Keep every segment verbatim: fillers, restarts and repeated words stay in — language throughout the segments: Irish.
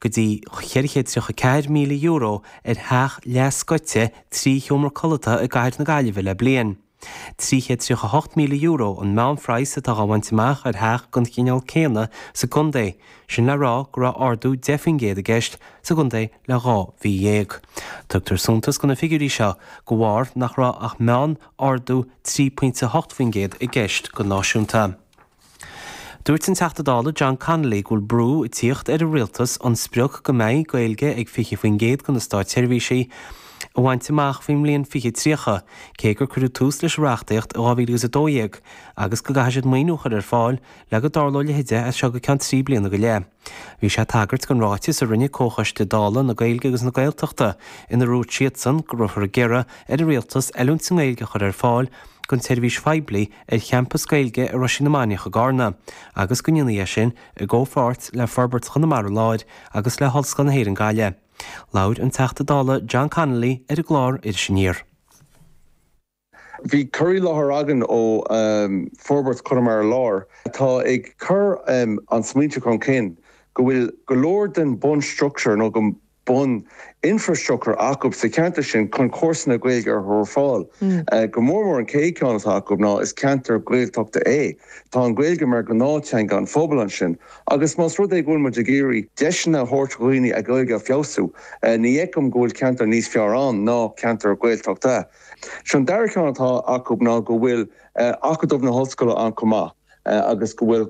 go dtí ceithre chéad tríocha ceathair míle euro ar theach leathscoite trí sheomra codlata i gcathair na Gaillimhe le bliain. Trí chéad tríocha hocht míle euro an meánphraghas atá á bhaint amach ar theach den chineál céanna sa gcontae, sin le rá go raibh ardú deich faoin gcéad i gceist sa gcontae le dhá mhí dhéag. Tugtar suntas do na figiúirí seo de bharr nach raibh ach meán-ardú trí pointe hocht faoin gcéad i gceist go náisiúnta. Dúirt an Teachta Dála John Connolly go bhfuil brú ag tíocht ar an rialtas an sprioc go mbeidh Gaeilge ag fiche faoin gcéad de na státseirbhísigh a bhaint amach faoin mbliain fiche tríocha, cé gur cuireadh tús leis an reachtaíocht i dhá mhíle agus a dó dhéag agus go gcaithfidh siad maoiniú a chur ar fáil le go dtarlóidh a leithéid as seo go ceann trí bliana go leith. Bhí sé ag tagairt don ráiteas a rinne Comhchoiste Dála na Gaeilge agus na Gaeltachta ina ndúirt siadsan go raibh ag iarraidh ar an rialtas oiliúint sa nGaeilge a chur ar fáil don tseirbhís phoiblí ar champas Gaeilge i Roisín na Mainiach i gCarna, agus go ndéanfaí é sin i gcomhpháirt le Forbairt Chonamara Láir agus le hOllscoil na hÉireann Gaillimh. Labhair an Teachta Dála John Connolly ar an gclár Iris Aniar. Bhí cur i láthair againn ó Forbairt Chonamara Láir atá ag cur an smaointe chun cinn go bhfuil go leor den bunstructúr nó go bun infrastructúr acu sa cheantar sin chun cúrsaí Gaeilge a chur ar fáil. Go mór mór an chéad ceann atá acu ná is ceantar Gaeltachta é. Tá an Ghaeilge mar ghnáth-theanga an phobail ansin, agus más rud é go bhfuil muid ag iarraidh deiseanna a thabhairt do dhaoine a Ghaeilge a fheabhsú, ní fheicim go bhfuil ceantar níos fearr ann ná ceantar Gaeltachta. Sin dara ceann atá acu ná go bhfuil Acadamh na hOllscoile ann chomh maith. agus go bhfuil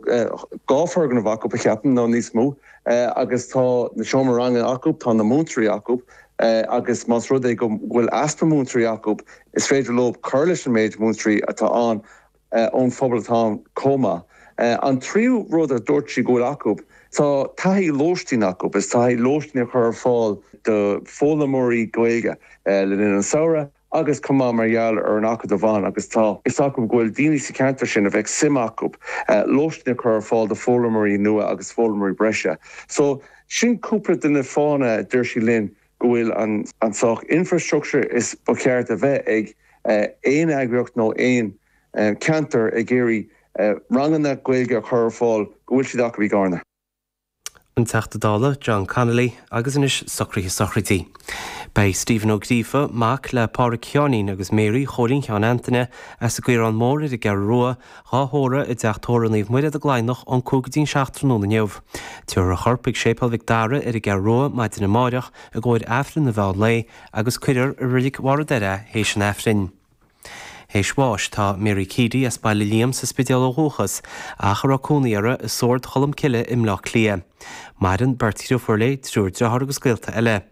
dhá foirgneamh acu a cheapaim nó níos mó agus tá na seomraí ranga acu, tá na múinteoirí acu agus más rud é go bhfuil easpa múinteoirí acu is féidir leo cur leis an méid múinteoirí atá ann ón phobal atá ann chomh maith. An tríú rud a dúirt sí go bhfuil acu, tá taithí lóistín acu, is taithí lóistín a chur ar fáil do foghlaimeoirí Gaeilge le linn an samhradh agus chomh maith mar gheall ar an acadamh ann agus tá fhios acu go bhfuil daoine sa cheantar sin a bheadh suim acu lóistín a chur ar fáil do foghlaimeoirí nua agus foghlaimeoirí breise. So sin cúpla de na fáthanna a dúirt sí linn go bhfuil an an saghas infrastructure is ba cheart a bheith ag aon eagraíocht nó aon ceantar ag iarraidh ranganna Gaeilge a chur ar fáil go bhfuil siad acu i gCarna. An Teachta Dála John Connolly agus anois socruithe sochraidí. Beidh Stephen Ó Gríofa, mac le Pádraig Sheáinín agus Mary Chóilín Sheáin Antaine as an gCaorán Mór ar an gCeathrú Rua, dhá thórramh i dteach tórraimh Naomh Muire i gCladhnach ón cúig go dtí an seacht tráthnóna inniu. Tabharfar a chorp chuig Séipéal Mhic Dara ar an gCeathrú Rua maidin amáireach i gcomhair Aifreann an mheán lae agus cuirfear i Reilig Bharr an Doire é théis an Aifrinn. Théis bháis tá Mary Keady as Baile Liam sa Spidéal ó dhúchas, ach a raibh cónaí uirthi i Sord Cholm Cille i mBleá Cliath. Maireann beirt dhriofúr léi, triúr dearthár agus gaolta eile.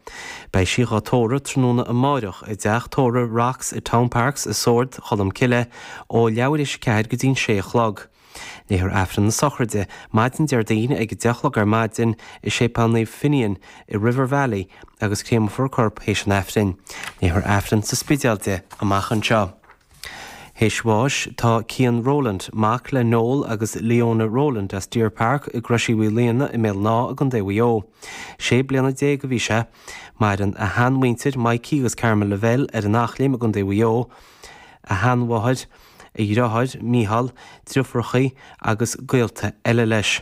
Beidh sí dhá tórramh tráthnóna amáireach i dteach tórraimh Rocks i Town Parks i Sord Cholm Cille ó leathuair théis a ceathair go dtí'n sé a chlog. Léifear Aifreann na sochraide maidin Déardaoin ag a deich a chlog ar maidin i Séipéal Naomh Finian i River Valley agus créamfar a corp théis an Aifrinn. Léifear Aifreann sa Spidéal di amach anseo. Théis bháis tá Cian Rowland, mac le Noel agus Leona Rowland as Deer Park i gCrois Uí Mhaoilíona i mBéal an Átha i gContae Mhaigh Eo. Sé bliana déag a bhí sé. Maireann a sheanmhuintir Mikey agus Carmel Lavelle ar an Eachléim i gContae Mhaigh Eo, a sheanmháthair, a dheartháir Mícheál, driofúrachaí agus gaolta eile leis.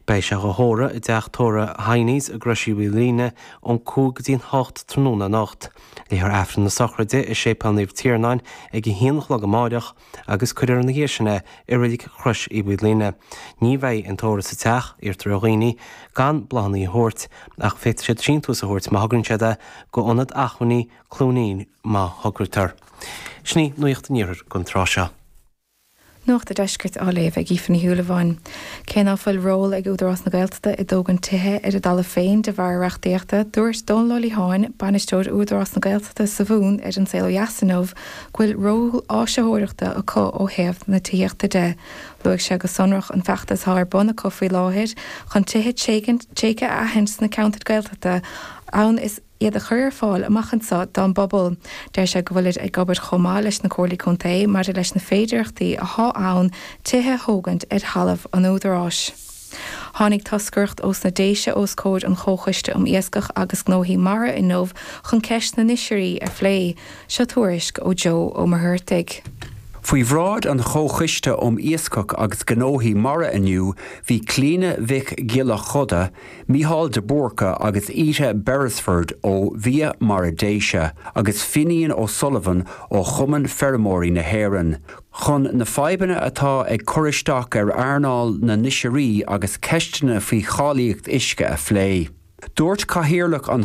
Beidh sé dhá thórramh i dteach tórraimh Heinies i gCrois Uí Mhaoilíona ón cúig go dtí'n hocht tráthnóna anocht. Léifear Aifreann na sochraide i Séipéal Naomh Tiarnáin ag a haon a chlog amáireach agus cuirfear ina dhiaidh sin é i Reilig Chrois Uí Mhaoilíona. Ní bheidh an tórramh sa teach, iarrtar ar dhaoine gan bláthanna a thabhairt ach féadfaidh siad síntiús a thabhairt má thograíonn siad é go Ionad Acmhainní Cluainín má thograítear. Sin í Nuacht an Iarthair don tráth seo. Nuacht an Deiscirt á léamh ag Aoife Ní Shúilleabháin. Cé ná fuil ról ag Údarás na Gaeltachta i dtógaint tithe ar a dtalamh féin de bharr reachtaíochta, dúirt Dónal Ó Liatháin, bainisteoir Údarás na Gaeltachta sa Mhumhain ar An Saol Ó Dheas inniu go bhfuil ról áisitheoireachta acu ó thaobh na tithíochta de. Luaigh sé go sonrach an feachtas atá ar bun acu faoi láthair chun tithe tréigthe a aithint sna ceantair Gaeltachta ann is iad a chur ar fáil amach anseo don bpobal. Deir sé go bhfuilid ag obair chomh maith leis na comhairlí contae maidir leis na féidearthachtaí atá ann tithe a thógaint ar thalamh an Údaráis. Tháinig toscaireacht ós na Déise os comhair an Chomhchoiste um Iascach agus Gnóthaí Mara inniu chun ceist na n-oisrí a phlé. Seo tuairisc ó Joe Ó Muircheartaigh. Faoi bhráid an Chomhchoiste um Iascach agus Gnóthaí Mara inniu bhí Clíona Mhic Giolla Choda, Mícheál de Búrca agus Ita Beresford ó Bhia Mara Déise agus Finian O'Sullivan ó Chumann Feirmeoirí na hÉireann. Chun na fadhbanna atá ag cur isteach ar earnáil na n-oisrí agus ceisteanna faoi cháilíocht uisce a phlé. Dúirt cathaoirleach an